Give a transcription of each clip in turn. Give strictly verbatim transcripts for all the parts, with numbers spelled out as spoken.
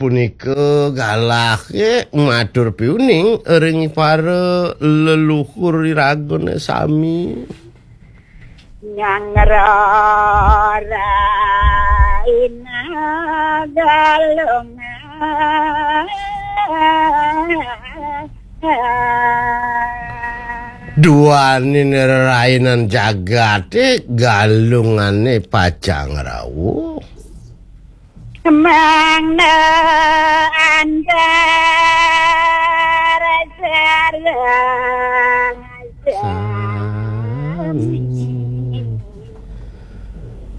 punika galahe matur piuning ring para leluhur iragane sami. Nyangrara ina galungan. Duaning rerainan jagate galungane pacang rauh. Mangda antar sareng sami.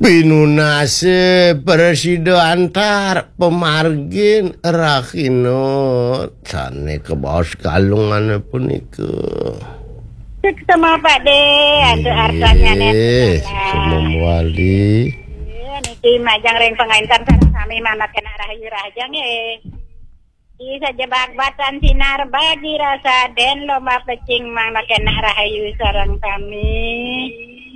Pinunase prasida antar pamargin rahina sane kabaos galungane punika. Suksema Pak De, antuk artanyane. Nggih, suksema mawali. Niki majeng ring pangaintan sareng sami manut kena rahayu rahajeng nggih. Di sajebak batan sinar bagi rasa den lomba pecing manut kena rahayu sareng sami.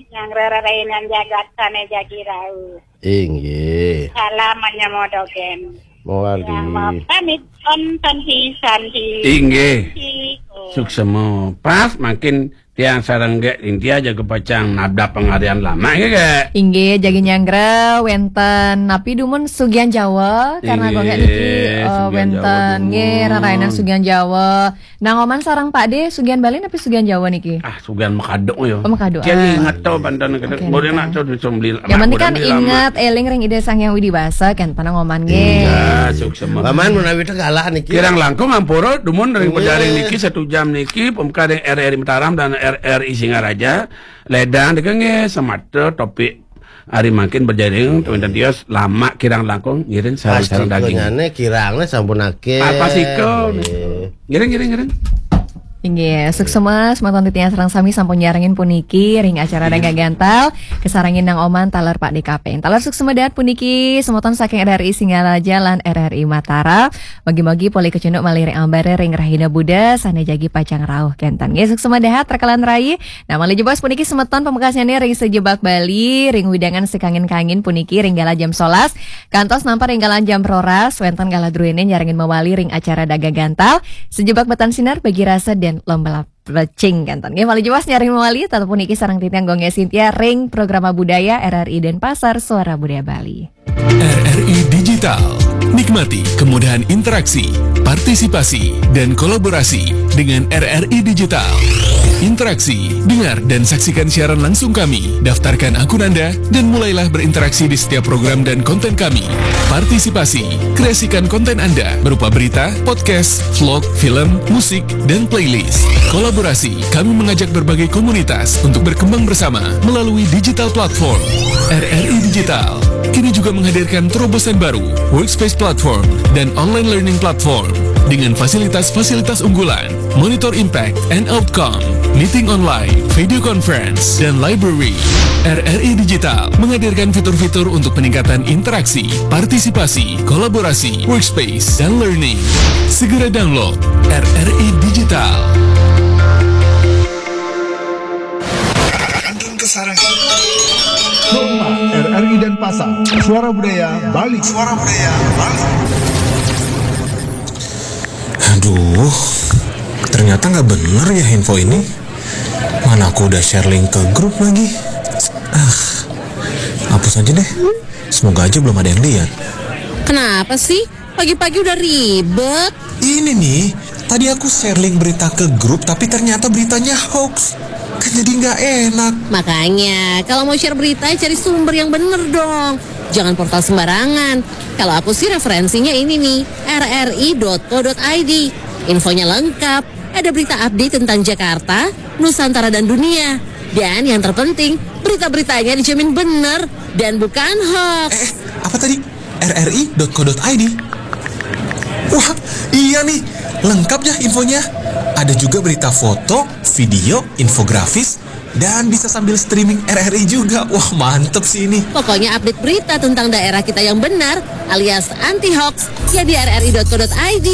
Yang rerainan jagat sane jagi rauh. Inggih. Salam manyamodogen. Mawali. Yang mau pamit on santi santi. Inggih. Santi, oh. Suksema. Pas makin tiang sareng Gek Intia jaga pacang nabdap pangarian lama nggih, Gek. Inggih, jagi nyanggra wenten napi dumun Sugian Jawa karena Gek niki, inggih, eh, Sugian Jawa wenten dumun. Nggih, rerainan Sugian Jawa. Nang Oman sareng Pak De, Sugian Bali napi Sugian Jawa niki? Ah, Sugian makaduk ya. Oh, makaduk. Jadi ah. Ingat tau banten kena. Oke, boleh nggih. Nak tau bisa beli. Yang penting kan ingat eling ring Ida Sang Hyang Widi Wasa kan, panang Oman nggih. Iya, suksema. Paman menawi tegalah niki. Kirang langkung ampura dumun ring nggih. Pejaring niki satu jam niki pemka ring R R I Mataram dan R R I Singaraja. Ledang deka nggih semata topik hari mangkin berjaring tuwinten tios lama kirang langkung ngiring sareng-sareng daging. Kirangnya sampun akeh. Apa siko? Nggih. Ngiring, ngiring, ngiring. Inggih, suksema semeton titiang sareng sami sampun nyarengin puniki ring acara Dagang Gantal, kasarengin Nang Oman taler Pak De Kaping. Taler suksema dahat puniki semeton saking R R I Singaraja lan R R I Mataram. Mugi-mugi polih kacunduk malih ring ambare ring rahina Buda sane jagi pacang rauh kenten. Nggih, suksema dahat rekalan rai. Nah, malih jebos puniki semeton pamekasnyane ring Sejebak Bali, ring wewidangan sakangin-kangin puniki ring galah jam solas kantos nampar ring galah jam roras, wenten galah druene nyarengin mawali ring acara Dagang Gantal, Sejebak Batan Sinar bagi rasa den lomba pecing kenten. Nggih, malih jebos nyarengin mawali, tetep puniki sareng titiang Gong Sintia ring Programa Budaya R R I Denpasar, Suara Budaya Bali. R R I Digital. Nikmati kemudahan interaksi, partisipasi, dan kolaborasi dengan R R I Digital. Interaksi, dengar dan saksikan siaran langsung kami, daftarkan akun Anda, dan mulailah berinteraksi di setiap program dan konten kami. Partisipasi, kreasikan konten Anda berupa berita, podcast, vlog, film, musik, dan playlist. Kolaborasi, kami mengajak berbagai komunitas untuk berkembang bersama melalui digital platform. R R I Digital kini juga menghadirkan terobosan baru, Workspace Platform dan Online Learning Platform dengan fasilitas-fasilitas unggulan, monitor impact and outcome, meeting online, video conference, dan library. R R I Digital menghadirkan fitur-fitur untuk peningkatan interaksi, partisipasi, kolaborasi, workspace, dan learning. Segera download R R I Digital. Kantun Kesarangan. Rumah R R I Denpasar, Suara Budaya Bali. Suara Budaya Bali. Aduh, ternyata nggak bener ya info ini. Mana aku udah share link ke grup lagi. Ah, hapus aja deh. Semoga aja belum ada yang lihat. Kenapa sih? Pagi-pagi udah ribet. Ini nih, tadi aku share link berita ke grup, tapi ternyata beritanya hoax. Kan jadi nggak enak. Makanya, kalau mau share berita, cari sumber yang bener dong. Jangan portal sembarangan. Kalau aku sih referensinya ini nih, R R I dot co dot I D. Infonya lengkap. Ada berita update tentang Jakarta, Nusantara, dan dunia. Dan yang terpenting, berita-beritanya dijamin bener dan bukan hoax. Eh, apa tadi? R R I dot co dot I D. Wah, iya nih, lengkap ya infonya. Ada juga berita foto, video, infografis, dan bisa sambil streaming R R I juga. Wah, mantep sih ini. Pokoknya update berita tentang daerah kita yang benar alias anti hoax ya di R R I dot co dot I D.